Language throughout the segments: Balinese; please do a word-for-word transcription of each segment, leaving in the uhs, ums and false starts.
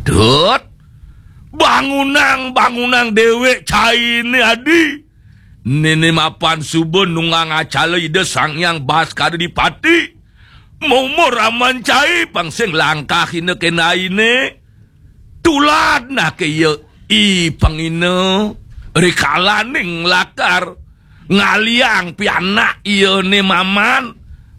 Dut. Bangunang, bangunang déwék cainé, Adi. Néné mapan suba nunggang acala Ida Sang Hyang Baskara Dipati. Momor aman cai pang sing langkahina kéné ainé. Tulad naké ya i pangina rikalaning lakar ngaliang pianak iyané maman,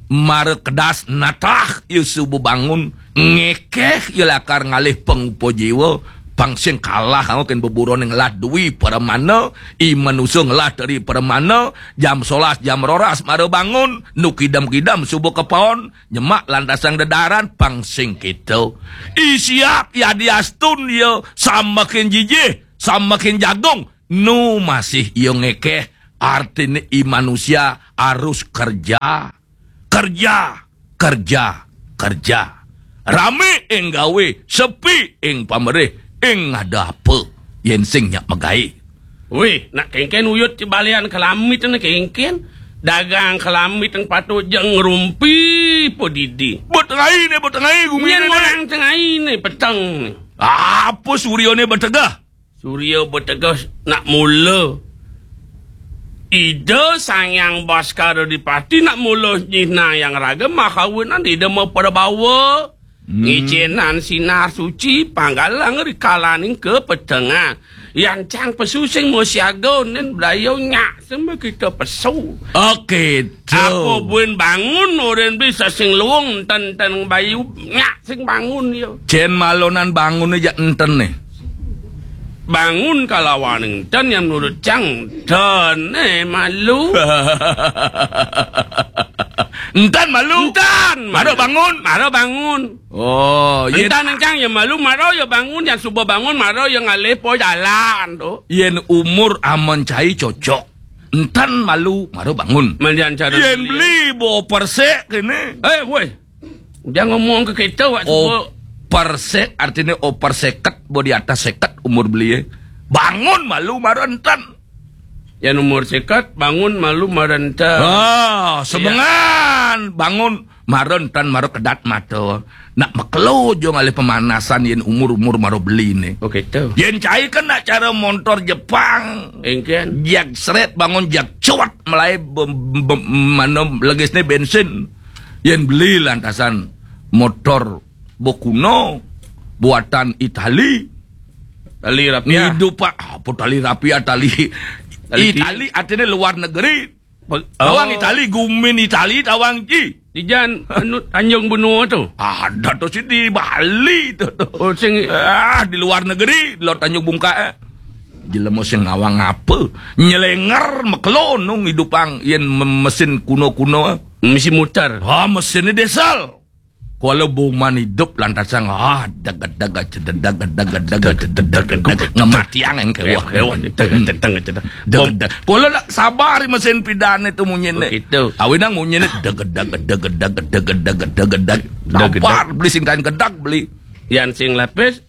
mara kedas natah ya suba bangun, ngékéh ya lakar ngalih pangupa jiwa, pang sing kalah anggo kén beburoné ngelah dwi pramana, i manusa ngelah tri pramana, jam solas, jam roras mara bangun, nu kidam-kidam suba kapaon, nyemak lantasang dedaran, pang sing kéto. I siap yadiastun ya samakin jijih, samakin jagung, nu masih ya ngékéh, artiné i manusia harus kerja. Kerja, kerja, kerja. Ramé ing gawé, sepi ing pamerih, ing ada apa, yén sing nyak magaé. Wih, nak kénkén uyut ci balian kalamit né kénkén. Dagang kalamit yang patut jeng ngerumpi padidi. Betengai né, betengai gumi. Nyén né, orang tengai né, peteng né. Apa suryané betegah? Surya betegas nak mula. Ida Sang Hyang Baskara Dipati nak mula nyinah yang raga makawinan Ida maprabawa. Hmm. Ngicénan sinar suci, panggalang rikalaning kapetengan. Yan cang pesu sing masiaga, nen blayo nyak sama kita pesu. Oké, to. Apa buin bangun, orang bisa sing luung, ten, ten bayu, nyak sing bangun, yo. Cén malonan bangun aja enten nih. Bangun kalawan enten yang menurut cang, ten, eh, malu. Enten malu. Enten, mara malu. Bangun. Mara bangun. Oh, iya. Enten cang ya malu, mara ya bangun, yang suba bangun, mara ya ngalih po jalan, tuh. Yén umur aman cai cocok. Enten malu, mara bangun. Mandian cara yén beli. Beli bawa persek kéné. Eh, woi. Jangan ngomong ke kita, wak. Oh, suba. Persek artinya over seket, bawa di atas seket umur beli, ya. Bangun malu, mara enten. Yén umur seket, bangun malu, mara enten. Ah, iya. Sebengan, bangun. Mara enten, mara kedat mata. Nak makelo jo ngalih pemanasan yén umur-umur mara beli né. Oh, gitu. Yén cai kan nak cara montor Jepang. Engken. Jak seret bangun jak cuat melai be-, be-, mana legisné bensin. Yén beli lantasan motor bokuna buatan Itali. Tali rapia. Ngidup, Pak. Apa tali rapia, tali. Tali ti- Itali artinya luar negeri. Tawang, oh. Itali, gumin Itali, tawang ki. Di jan, anu, Tanjung Benua tu. Ada tu si di Bali tu. Oh, sing. Ah, di luar negeri, di luar Tanjung Bungka, eh. Jelema sing ngawang apa? Nyelenger, mekelon, nung idupang, yen me-, mesin kuno-kuno. Mesin muter. Ah, mesinnya diesel. Kuala buman idup lantasan, ah, degedeg, cededeg, degedeg, cededeg, ngematiang engké wah. Degedeg. Degedeg. Kuala nak sabar mesin pidan itu munyiné. Begitu. Awinang munyiné degedeg, degedeg, degedeg, degedeg. Degedeg. Sabar beli sing kain gedag beli. Yan sing lapis.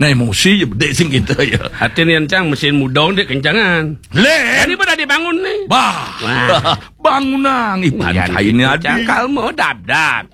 Nah, emosi ya, bedé sing gitu ya. Hati ni encang mesin mudong dek kencangan. Lén. Ini pada dibangun nih. Bah. Wah. Bangunang, ipan kainnya adi. Cangkal mau dabdab.